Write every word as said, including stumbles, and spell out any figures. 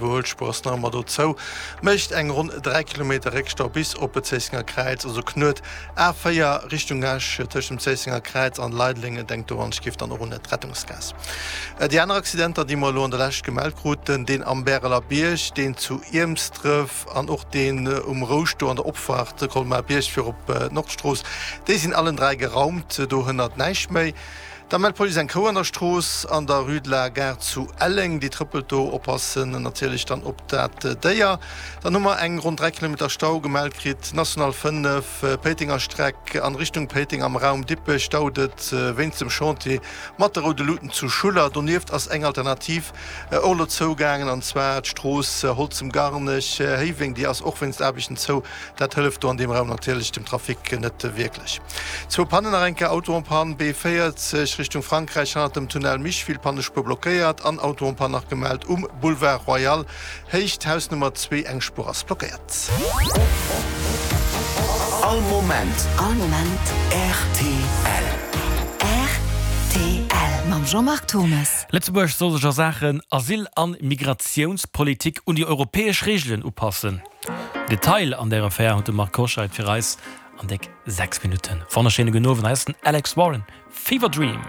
D'Iwwerhuelspuer ass nach ëmmer do zou, mécht eng ronn dräi Kilometer Réckstau bis op d'Zéissenger Kräiz, also Knuet A véier Richtung Esch tëscht dem Zéissenger Kräiz an Leideleng. Denkt do an ech giff dann och un d'Rettungsgaass. Déi aner Accidenter, déi mer elo an der Lescht gemellt kruten, deen am Bäreler Bierg, deen zu Iermsdref an och deen um Rouscht do an der Opfaart Colmar Bierg fir op d'Nordstrooss, déi sinn allen dräi geraumt, do hënnert näischt méi. Da mellt d'Police eng Kou an der Strooss an der Rue de la Gare zu Elleng. Déi trëppelt do. Oppassen natierlech dann op dat Déier. Dann hu mer eng ronn dräi Kilometer Stau gemellt kritt. National fënnef, Péitenger Streck an Richtung Péiteng am Raum Dippech staut et wéinst dem Chantier mat de roude Luuten zu Schuller. Donieft ass eng Alternativ och elo zougaangen an zwar d'Strooss Holzem-Garnech, Héiweng. Déi ass och wéinst Aarbechten zou. Dat hëlleft do an deem Raum natierlech dem Trafic net wierklech. Zwou Pannen nach eng Kéier, Auto en panne B véierzeg Richtung Frankräich hannert dem Tunnel Micheville, Pannespuer blockéiert an Auto en panne nach gemellt um Boulevard Royal, Héicht Haus Nummer zwee, eng Spuer ass blockéiert. All Moment. All Moment. Rtl. Rtl mam Jean-Marc Thomes. Lëtzebuerg soll sech a Saachen Asyl an Migratiounspolitik un déi europäesch Reegelen upassen. Detail an där Affär huet de Marc Hoscheid fir eis an déck sechs Minutten. Wonnerschéine gudden Owend, hei ass den Alex Warren, Fever Dream.